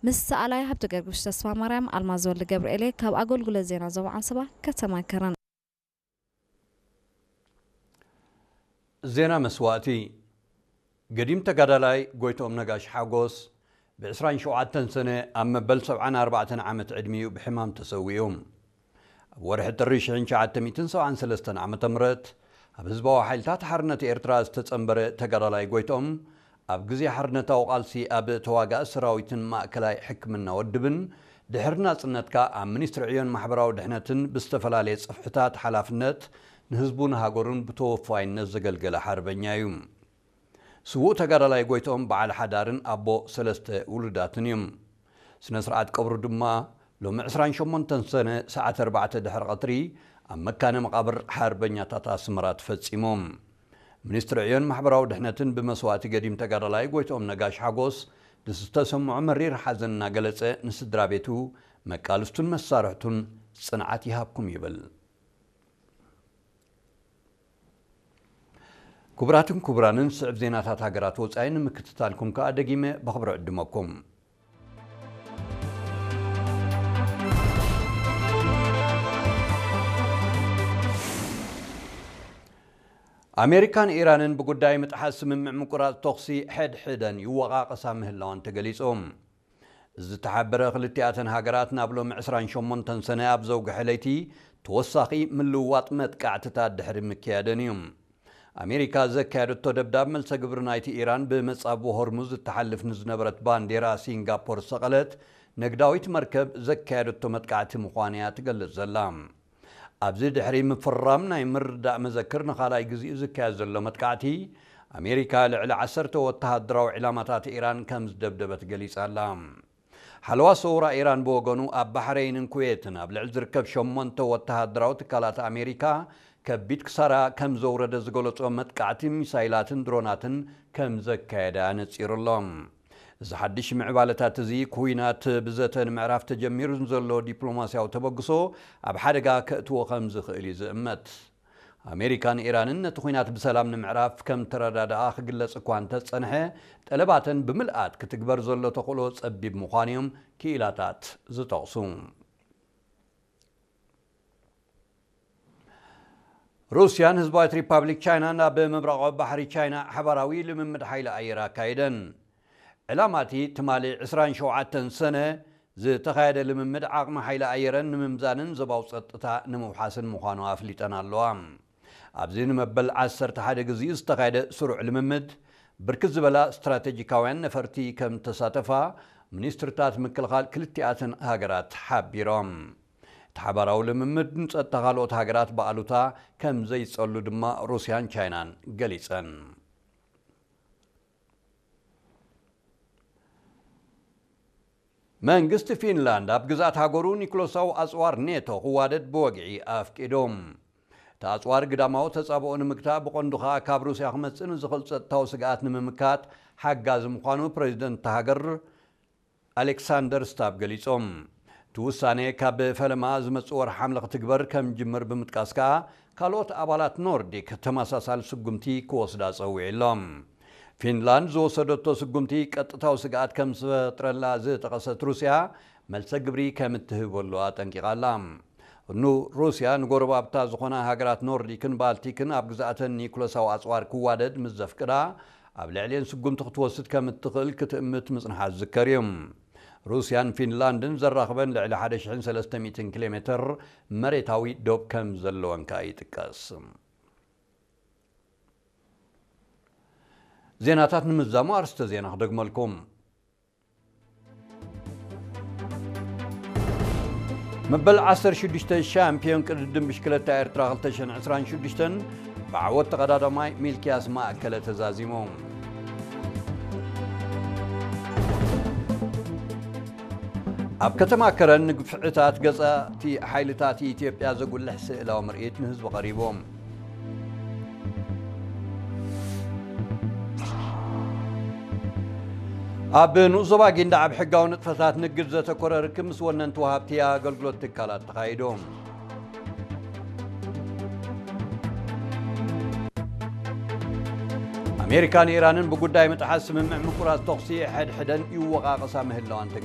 ምስ ሰኣላይ ሃብተ ገርግሽ ተስፋ ማርያም። ኣልማዝ ወልደ ገብርኤል እየ ካብ ኣገልግሎት ዜና ዞባ ዓንሰባ ከተማ ከረን። ዜና መስዋእቲ። ገዲም ተጋዳላይ ጎይትኦም ነጋሽ ሓጎስ ብ ዕስራን ሸውዓተን ሰነ ኣብ መበል ሰብዓን ኣርባዕተን ዓመት ዕድሚኡ ብሕማም ተሰዊኡ። ኣብ ወርሒ ጥሪ ሽሕን ትሽዓተ ሚእትን ሰብዓን ሰለስተን ዓመተ ምህረት ኣብ ህዝባዊ ሓይልታት ሓርነት ኤርትራ ዝተጸንበረ ተጋዳላይ ጎይትኦም ኣብ ግዜ ሓርነታዊ ቃልሲ ኣብ ተዋጋኢ ሰራዊትን ማእከላይ ሕክምና ወድብን ድሕሪ ናጽነትካ ኣብ ሚኒስትሪ ዕዮን ማሕበራዊ ድሕነትን ብዝተፈላለየ ጽፍሕታት ሓላፍነት ንህዝቡን ሃገሩን ብተወፋይነት ዘገልገለ ሓርበኛ እዩ። ስዉእ ተጋዳላይ ጎይትኦም በዓል ሓዳርን ኣቦ ሰለስተ ውሉዳትን እዩ። ስነ ስርዓት ቀብሩ ድማ ሎሚ ዕስራን ሸሞንተን ሰነ ሰዓት ኣርባዕተ ድሕሪ ቀትሪ ኣብ መካነ መቓብር ሓርበኛታት ኣስመራ ተፈጺሙ። ሚኒስትሪ ዕዮን ማሕበራዊ ድሕነትን ብመስዋእቲ ገዲም ተጋዳላይ ጎይትኦም ነጋሽ ሓጎስ ንዝተሰምዖ መሪር ሓዘን እናገለጸ ንስድራ ቤቱ፣ መቃልስቱን መሳርሕቱን ጽንዓት ይሃብኩም ይብል። ክቡራትን ክቡራንን፣ ስዕብ ዜናታት ሃገራት ወጻኢ ንምክትታልኩም ከኣ ደጊመ በኽብሪ ዕድመኩም። ኣሜሪካን ኢራንን ብጉዳይ ምጥሓስ ስምምዕ ምቁራጽ ተኹሲ ሕድሕደን ይወቓቐሳ ምህላወን ተገሊጹ። ዝተሓበረ ክልቲኣተን ሃገራት ናብ ሎሚ ዕስራን ሸሞንተን ሰነ ኣብ ዘውግሐ ለይቲ ተወሳኺ ምልውዋጥ መጥቃዕትታት ድሕሪ ምክያደን እዩ። ኣሜሪካ ዘካየደቶ ደብዳብ መልሰ ግብሪ ናይቲ ኢራን ብመጻብቦ ሆርሙዝ እትሓልፍ ንዝነበረት ባንዴራ ሲንጋፖር ዝሰቐለት ነግዳዊት መርከብ ዘካየደቶ መጥቃዕቲ ምዃኑ እያ ትገልጽ ዘላ። ኣብዚ ድሕሪ ምፍራም ናይ ምርዳእ መዘክር ንኻልኣይ ግዜኡ ዝካየድ ዘሎ መጥቃዕቲ፣ ኣሜሪካ ልዕሊ ዓሰርተ ወተሃደራዊ ዕላማታት ኢራን ከም ዝደብደበት ገሊጻ ኣላ። ሓለዋ ሰውራ ኢራን ብወገኑ፣ ኣብ ባሕረይንን ኩዌትን ኣብ ልዕሊ ዝርከብ ሸሞንተ ወተሃደራዊ ትካላት ኣሜሪካ ከቢድ ክሳራ ከም ዘውረደ ዝገለጾ መጥቃዕቲ ሚሳይላትን ድሮናትን ከም ዘካየደ ኣነጺሩ ኣሎ። እዚ ሓድሽ ምዕባለታት እዚ፣ ኩናት ብዘተ ንምዕራፍ ተጀሚሩ ንዘሎ ዲፕሎማስያዊ ተበግሶ ኣብ ሓደጋ ከእትዎ ከም ዝኽእል እዩ ዝእመት። ኣሜሪካን ኢራንን ነቲ ኩናት ብሰላም ንምዕራፍ ከም ተረዳድኣ ክግለጽ እኳ እንተጸንሐ፣ ጠለባተን ብምልኣት ክትግበር ዘሎ ተኽእሎ ጸቢብ ምዃኑ እዮም ክኢላታት ዝጠቕሱ። ሩስያን ህዝባዊት ሪፓብሊክ ቻይናን ኣብ ምብራቓዊ ባሕሪ ቻይና ሓባራዊ ልምምድ ሓይሊ ኣየር ኣካይደን። ዕላማ እቲ ትማሊ ዕስራን ሸውዓተን ሰነ ዝተኻየደ ልምምድ፣ ዓቕሚ ሓይሊ ኣየረን ንምምዛንን ዞባዊ ጸጥታ ንምውሓስን ምዃኑ ኣፍሊጠን ኣለዋ። ኣብዚ ንመበል ዓሰርተ ሓደ ግዜኡ ዝተኻየደ ስሩዕ ልምምድ፣ ብርክት ዝበላ ስትራቴጂካውያን ነፈርቲ ከም እተሳተፋ ሚኒስትርታት ምክልኻል ክልቲኣተን ሃገራት ሓቢሮም። እቲ ሓባራዊ ልምምድ ንጸጥታ ካልኦት ሃገራት ብኣሉታ ከም ዘይጸሉ ድማ ሩስያን ቻይናን ገሊጸን። መንግስቲ ፊንላንድ ኣብ ግዝኣት ሃገሩ ኒኩለሳዊ ኣጽዋር ኔቶ ክዋደድ ብወግዒ ኣፍቂዱ። እቲ ኣጽዋር ግዳማዊ ተጻብኦ ንምግታእ፣ ብቐንዱ ከኣ ካብ ሩስያ ክመጽእ ንዝኽእል ጸጥታዊ ስግኣት ንምምካት ሓጋዚ ምዃኑ ፕረዚደንት እታ ሃገር ኣሌክሳንደር ስታብ ገሊጾም። እቲ ውሳኔ ካብ ፈለማ ዝመጽእ ወርሒ ሓምለ ክትግበር ከም ጅምር ብምጥቃስ ከኣ፣ ካልኦት ኣባላት ኖርዲክ ተመሳሳሊ ስጉምቲ ክወስዳ ጸዊዑ ኣሎ። ፊንላንድ ዝወሰደቶ ስጉምቲ ቀጥታዊ ስግኣት ከም ዝፈጥረላ ዝጠቐሰት ሩስያ፣ መልሰ ግብሪ ከም እትህበሉ ኣጠንቂቓ ኣላ። ኑ-፣ ሩስያ ንጎረባብታ ዝኾና ሃገራት ኖርዲክን ባልቲክን ኣብ ግዝኣተን ኒኩለሳዊ ኣጽዋር ክዋደድ ምስ ዘፍቅዳ፣ ኣብ ልዕሊኤን ስጉምቲ ክትወስድ ከም እትኽእል ክትእምት ምጽንሓ ዝዝከር እዩ። ሩስያን ፊንላንድን ዘራኽበን ልዕሊ ሓደ ሽሕን ሰለስተ ሚእትን ኪሎ ሜትር መሬታዊ ዶብ ከም ዘለወን ከኣ ይጥቀስ። ዜናታት ንምዛሙ ኣርስተ ዜና ክደግመልኩም። መበል ዓሰርተ ሽዱሽተ ሻምፒዮን ቅድድም ብሽክለታ ኤርትራ ክልተ ሽሕን ዕስራን ሽዱሽተን ብዓወት ተቐዳዳማይ ሚልክያስ ማእከለ ተዛዚሙ። ኣብ ከተማ ከረን ንግፍዕታት ገዛእቲ ሓይልታት ኢትዮጵያ ዘጉልሕ ስእላዊ ምርኢት ንህዝቢ ቀሪቡ። ኣብ ንኡስ ዞባ ጊንዳዕ ኣብ ሕጋዊ ንጥፈታት ንግድ ዘተኮረ ርክብ ምስ ወነንቲ ወሃብቲ ኣገልግሎት ትካላት ተኻይዱ። ኣሜሪካን ኢራንን ብጉዳይ ምጥሓስ ስምምዕ ምቁራጽ ተኹሲ ሕድሕደን ይወቓቐሳ ምህላዋን ተገሊጹ።